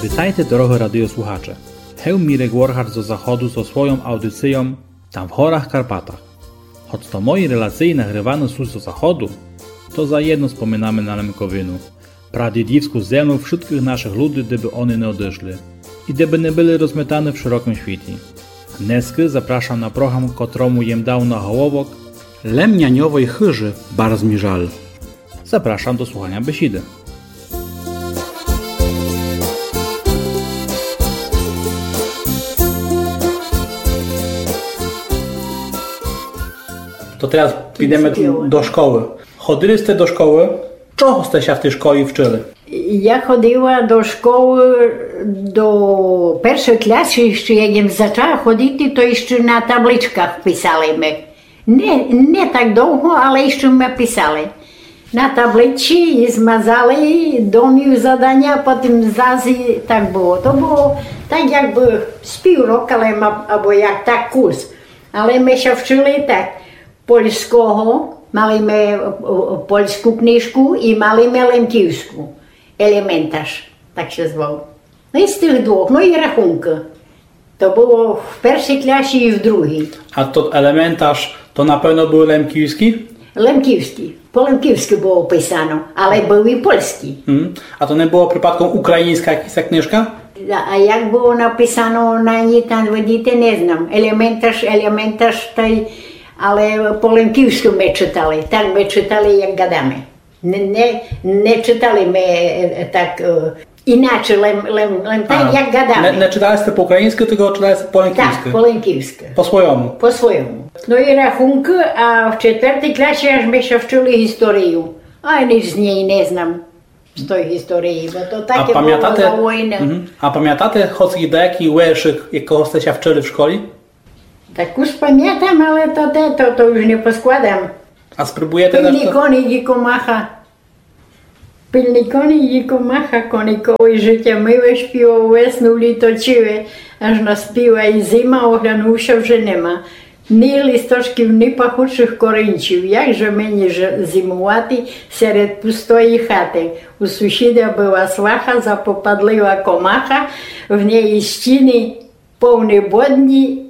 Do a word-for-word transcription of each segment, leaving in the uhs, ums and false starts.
Витайте, дорогы радиослухаче! Гев Мірек Воргард зо заходу зо свойом аудицийом Там в горах Карпатах. Гоц то мої релациї нагриваны суть зо заходу, то заєдно споминаме на Лемковину, прадїдівску землю вшыткых нашых люди, де бы они не одышли і де бы не были розметаны в шырокым світі. Днеска запрашам на програм, котрому єм дав наголовок Лемняньовой хыжы барз мі жаль. Запрашам до слуханя бесіды. То тераз підеме до школы. Ходили сте до школы? Чого сте ся в тій школі вчыли? Я ходила до школы, до першой клясы іщы, як єм зачала ходити, то іщы на табличках писали мы. Не, не так довго, але іщы мы писали. На табличці і змазали домів заданя, потім зась і так было. То было так, якбы з пів рока, але ма-, або як так кус. Але мы ся вчыли так. Польского, мали мы, е, е, польску книжку і мали мы лемківску. Елементарз, так ся звав. Но і з тых двох, но і рахункы. То было в першій клясі і в другій. А тот елементарз, то на певно были лемківскы? Лемківскы. По лемківскы было писано, але были і польскы. Мгм. А то не была припадком україньска якась книжка? А, а як было написано на ній, там, видите, не знам. Елементарз, елементарз, тай, але по лемківскы мы читали. Так мы читали, як гадаме. Не, не, не читали мы, е, е, так, е, іначе, лем, лем, лем так, як гадаме. Не, не читали сте по україньскы, тілько читали сте по лемківскы? Так, по лемківскы. По свойому? По свойому. Но і рахункы, а в четвертій клясі аж мы ся вчыли історию. А ніч з ній не знам. З той історії, бо то таке было за войны. Мгм. А памятате хоц і даякі вершык, якого сте ся вчыли в школі? Так уж памятам, але то те, то, то уж не поскладам. А спрібуєте наш... Пильный коник і комаха. Пильный коник і комаха, кониковый жытя миле, співав весну, літо ціле, аж наспіла і зима, оглянув ся, вже нема. Ні листочків, ні пахучих корінців, як же мені ж-, зимувати серед пустої хаты. У сусіда была сваха, запопадлива комаха, в неї стіни повні бодні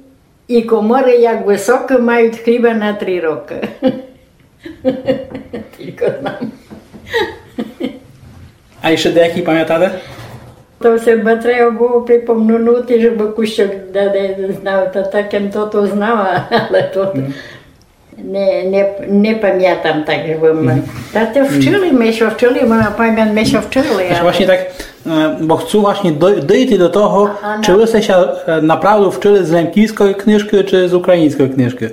і коморы як высокы, мають хліба на три рокы. Тілько знам. А іщы даякі памятате? То ся треба было припомнути, жебы кусок да-, да-, знав, то так єм тото знала, але то не, не, не памятам так, жебы мы. Мгм. Та то вчыли мы ся, вчыли мы, на памят мы ся вчыли, але... Власьні так, е, бо хцу власьні дой-, дойти до того, чы вы сте ся, е, направду вчыли з лемківской книжкы, чы з україньской книжкы.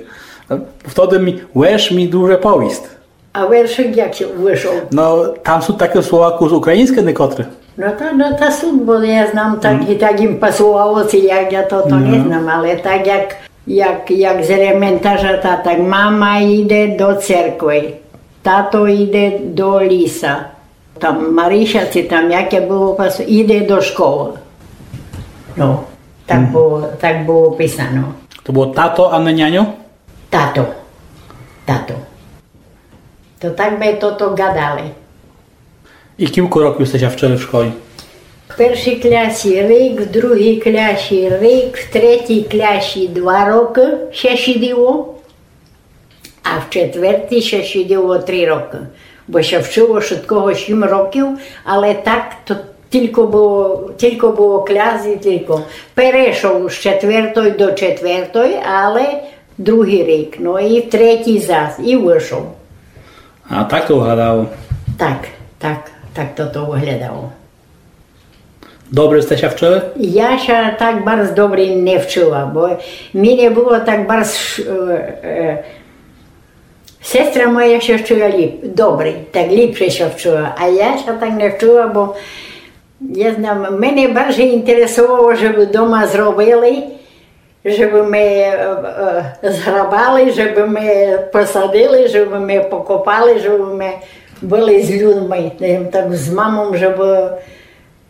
Е, втоды мі, верш мі дуже повіст. А вершык як ся вышов? Но, там сут такы слова кус україньскы некотры. Но та, но та сут, бо я знам так, і так ім пасовало, ци як, я то, то не знам, але так як, як, як з елементарза, та так: мама іде до церкви, тато іде до ліса, там Марися, ци там яке было, пас-, іде до школы. Но, так было, так было писано. То было тато, а не няньо? Тато. Тато. То так мы тото гадали. І кілько років сте ся вчыли в школі? В першій клясі рік, в другій клясі рік, в третій клясі два рокы ся сідило, а в четвертій ся сідило три рокы. Бо ся вчыло вшыткого сім років, але так то тілько было, тілько было кляс і тілько. Перешов з четвертой до четвертой, але другій рік, но і в третій зас, і вышов. А так то выглядало? Так, так, так то, то выглядало. Добрі сте ся вчыли? Я ся так барз добрі не вчыла, бо мі не было так барз, е, е, сестра моя ся вчыла ліп-, добрі, так ліпше ся вчыла, а я ся так не вчыла, бо я знам, мене барз інтересовало, жебы дома зробили, жебы мы, е, е, зграбали, жебы мы посадили, жебы мы покопали, жебы мы были з людми, е, так з мамом, жебы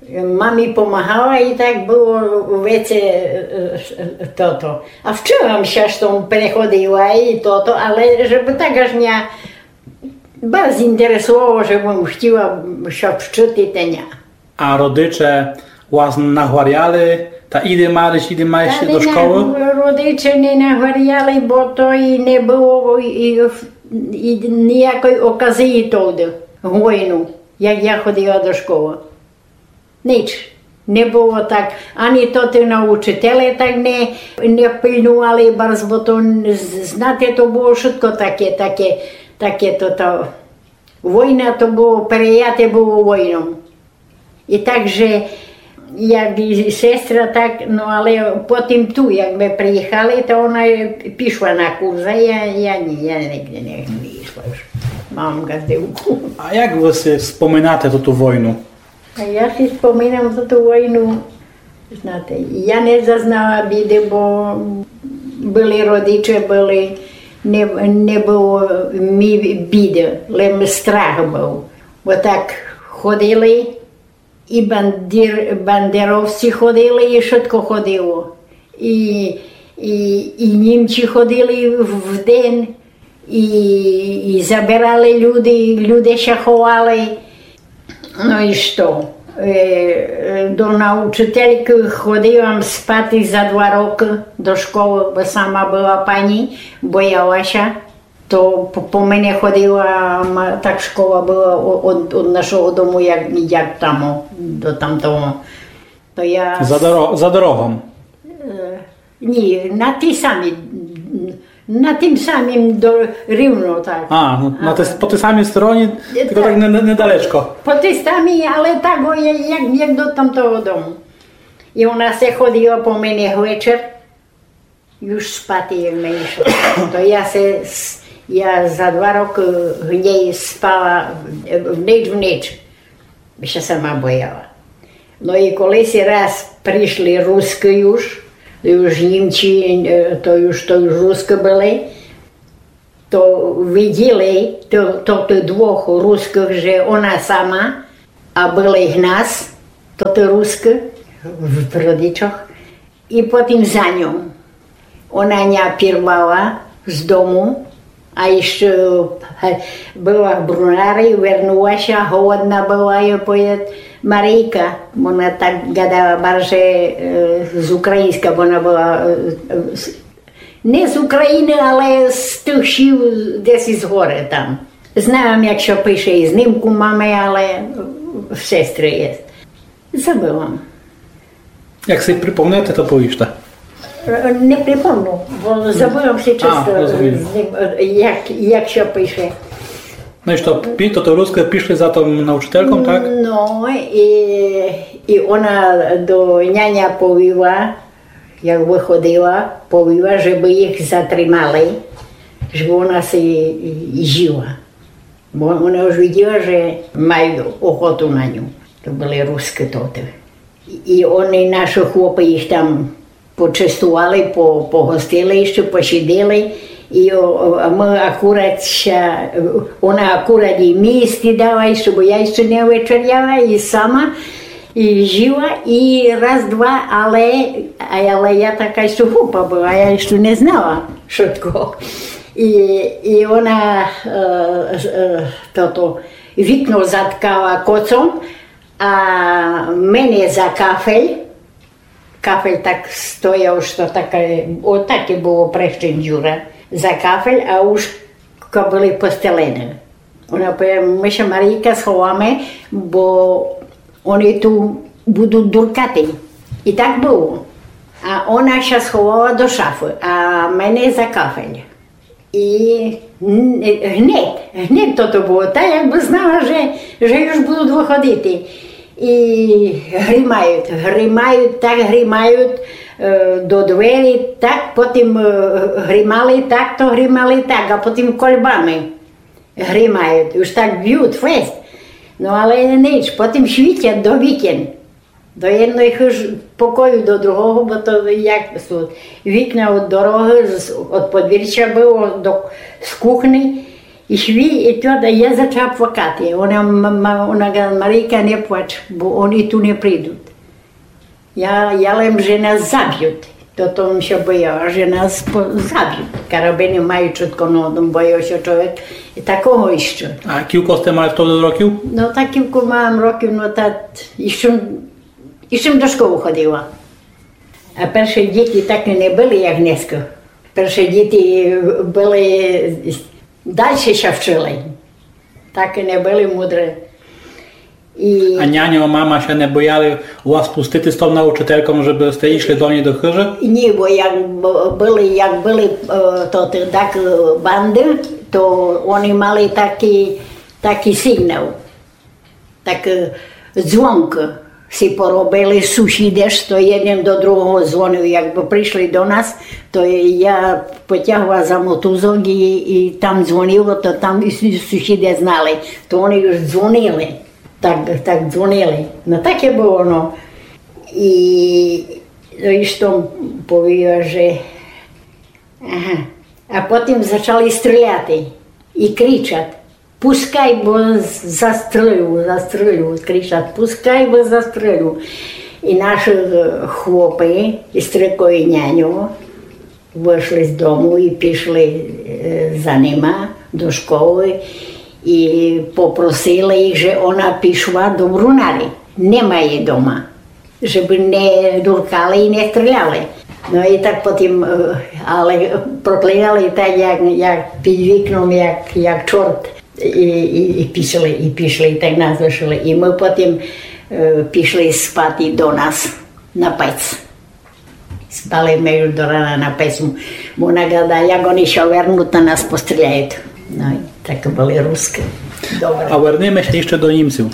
мамі помагала і так было веце, е, е, тото. А вчыла м ся, што м переходила і тото, але жебы так аж мя барз інтересовало, жебы м хтіла ся вчыти, та ня. А родиче Вас нагваряли, та іди, Марич, іди, Марич, до школы? Та не, родиче не нагваряли, бо то і не было і, і ніякой оказії тогды, войну, як я ходила до школы. Нич. Не было так, ані тоты научителе так не, не пильнували барз, бо то, з-, знате, то было вшытко таке, таке, таке то, то. Война то было, переяте было войном. І так же, як і сестра, так, но але потім ту, як мы приїхали, то она пішла на курс, а я, я ні, я нигде не, не ішла уж. Мам ґаздівку. А як вы си споминате тоту войну? А я си споминам за ту войну, знате, я не зазнала біды, бо были родиче, были, не, не было ми біды, лем страх был. Бо так ходили, і бандер-, бандеровці ходили, і вшытко ходило. І, і, і німці ходили в, в день, і, і забирали люди, і люди ся ховали. Но і што? Е, е, до научителькы ходила м спати за два рокы до школы, бо сама была пані, бояла ся. То по, по мене ходила, м, так школа была о-, од, од нашого дому, як, як там, о, до тамтого. То я... За доро-, за дорогом? Е, ні, на тій самій, на тім самім до-, рівно так. А, на, на тій, по тій самій стороні, тілько так не, не, недалечко. По тій самій, але так, о, я-, як, як до тамтого дому. І она ся ходила по мене вечер, уж спати, як не йшла. То я ся, с-, я за два рокы в ней спала, е, в нич, в нич. Бо ся сама бояла. Но і колиси раз пришли Рускы уж, уж Німці, е, то уж, то уж Рускы были, то виділи, то, то, тых двох Рускых, же она сама, а были їх нас, то ты Рускы, в, в родичох, і потім за ньом. Она ня пірвала з дому, а іщы, е, была в Брунарі, вернула ся, голодна была, і повіт: Марійка, она так гадала барже, е, з україньска, бо она была, е, е, з, не з Україны, але з тых сіл десь із горы там. Знам, як ся пише, і знимку маме, але в сестры єст. Забыла м. Як си припомнете, то повіжте. Е, не припомну, бо забыла м ся чисто, розумію, з ним, е, як, як ся пише. Но і што, пі-, то, то Рускы пішли за тым научительком, так? Но, і, і она до няня повіла, як выходила, повіла, жебы їх затримали, жебы она си і, і жіла. Бо она уж виділа, же мают охоту на ню. То были Рускы тоты. І, і они, нашы хлопы, їх там почестували, по-, погостили іщы, посідили. І о-, о-, а мы акурат ся, она акурат і мі їсти дала, іщы, бо я іщы не вечеряла, і сама, і жіла, і раз, два, але, але я така іщы глупа была, я іщы не знала вшытко. І, і она, е, е, тото, вікно заткала коцом, а мене за кафель, кафель так стояв, што таке, отаке было прещен дзюра, за кафель, а уж ка были постелены. Она повіла: мы ся, Марійка, сховаме, бо они ту будут дуркати. І так было. А она ся сховала до шафы, а мене за кафель. І н-, гнет, гнет тото было, та якбы знала, же, же уж будут выходити. І гримают, гримают, так гримают, е, до двері, так потім, е, гримали, так то гримали, так, а потім кольбами гримают. Уж так бют фест. Но але нич, потім світят до вікен. До єдной хыж-, покою, до другого, бо то як сут. Вікна од дорогы, з, од подвірча было, до, з кухни. І сві-, і тото, я зачала плакати. Она, м-, м-, она гада: Марійка, не плач, бо они ту не придут. Я, я лем, же нас забют. Тото м ся бояла, же нас по-, забют. Карабины мают вшытко, но, бояв ся чоловік і такого іщы. А кілько сте мали втовды років? Но, так кілько мала м років, но, та іщы І чим до школы ходила. А перше діти такі не были, як днеска. Перше діти были, дальше ся вчыли. Такі не были мудрі. І А няньо, мама ся не бояли вас пустити з тов научительком, жебы сте ішли до ней до хыжы? Ні, бо як б-, были, як были, е, то, то так, е, банды, то они мали такый, такый сигнал. Так, е, дзвонкы си поробили сусіде, што єден до другого дзвонив. Якбы пришли до нас, то я потягла за мотузок і, і там дзвонило, то там і су-, сусіде знали, то они уж дзвонили. Так, так дзвонили. Но таке было, но. І, но, і што повіла, же, ага. А потім зачали стріляти і кричати: «Пускай, бо з-, застрелю, застрелю», кричать: «Пускай, бо застрелю». І наші, е, хлопы, і стрико, і няньо, вышли з дому і пішли, е, за нима до школы. І попросили їх, же она пішла до Брунары. Нема її дома. Жебы не дуркали і не стріляли. Но і так потім, е, але проклинали так, як, як під вікном, як, як чорт. І, і, і пішли, і пішли, і так нас лишили. І мы потім, е, пішли спати до нас на пец. Спали мы до рана на пецу. Бо она гадала, як они ся вернуть, та нас постріляють. Но і так были рускі. Добре. А вернеме ся іщы до німців.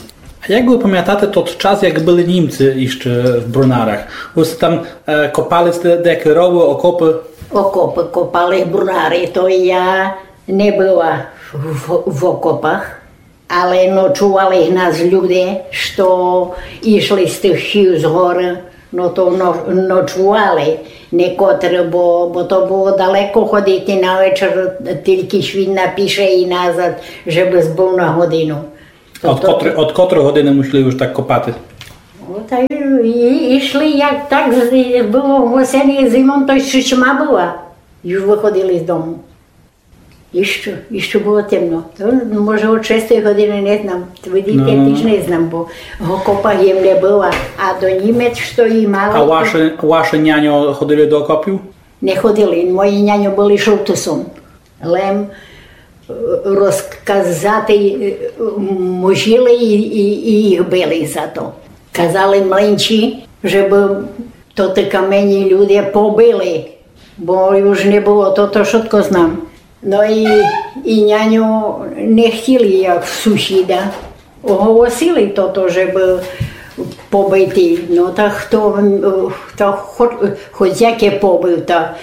А як вы памятате тот час, як были німці іщы в Брунарах? Вы сте там, е, копали сте деякі ровы, окопы? Окопы копали в Брунары, то я не была в, в, в окопах, але ночували нас люде, што ішли з тых хів з горы, но то но-, ночували некотры, бо, бо то было далеко ходити на вечер, тілько світ напише і назад, жебы збыв на годину. Од котры, од котрой годины мусили уж так копати? Но, та і, і, ішли, як так з-, было в осени, зимом, то іщы тьма была. Уж выходили з дому. Іщы, іщы было темно. То, може, од шестої годины, не знам. Видите, но, но, тіж но. Не знам, бо в окопах єм не была. А до Німец, што і мали, А то ваші, ваші няньо ходили до окопів? Не ходили. Мої няньо были шолтысом. Лем, е, розказати, е, мусили і, і, і їх били за то. Казали мленці, жебы тоты каменні люде побили, бо уж не было, то, то вшытко знам. Но і, і няньо не хтіли, як в сусіда. Оголосили тото, жебы побити. Но, та хто, та хо-, хоц яке побив, та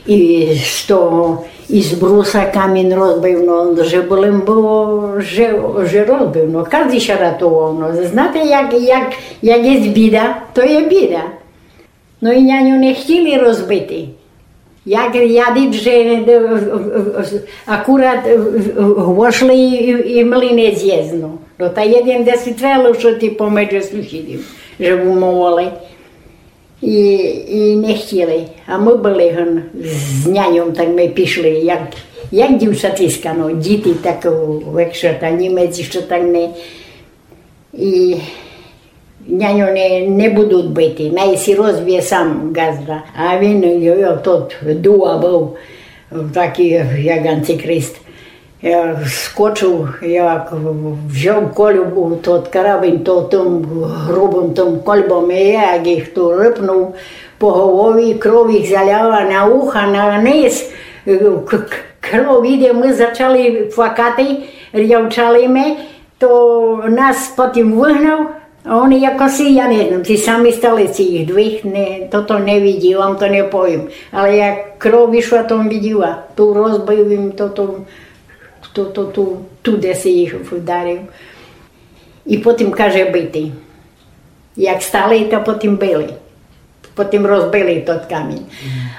і з того, і з бруса камінь розбив, но, жебы лем было, же, же розбив, но, каждый ся ратував, но, знате, як, як, як єст біда, то є біда. Но і няньо не хтіли розбити. Як ядуть, же, е, е, е, акурат, е, е, вошли і, і, і млинець єст, но. Но, та єден десь треба лишыти помедже сусідів, же умовили. І, і не хтіли. А мы были гын з няньом, так мы пішли, як, як дівчатиська, но, діти так, е, векше, та німець іщы так не, І няньо не, не будуть бити, най си розбиє сам ґазда. А він, йо, йо, тот дула быв, такый, як антихрист. Я скочив, як взяв кольбу, тот карабін, то тым грубым тым кольбом, і як їх ту рыпнув по голові, кров їх заляла на уха, на низ. К-, к-, кров іде, мы зачали плакати, рявчали мы. То нас потім выгнав, а они якоси, я не знам, ці самі стали, ці їх двох, не, тото не виділа, вам то не повім. Але як кров ішла, то виділа, ту розбив їм, тото, тото, ту, ту, де си їх вдарив. І потім каже бити. Як стали, то потім били. Потім розбили тот камінь.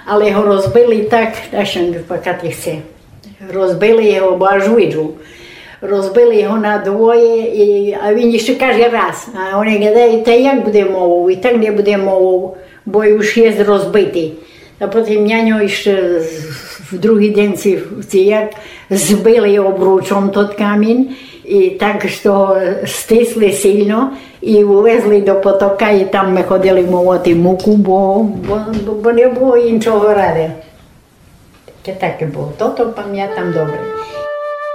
Але го розбили так, аж ся не плакати хце. Розбили го, бо аж виджу. Розбили го на двоє, і, а він іщы каже раз. А они гадають: «Та як буде мовов? І так не буде мовов, бо уж єст розбитый». А потім няньо іщы з-, В другый день сі, сі як збили обручом тот камін, і так, што го стисли сильно, і увезли до потока, і там мы ходили молоти муку, бо, бо, бо, бо не было іншого рады. Таке, таке было. Тото памятам добре.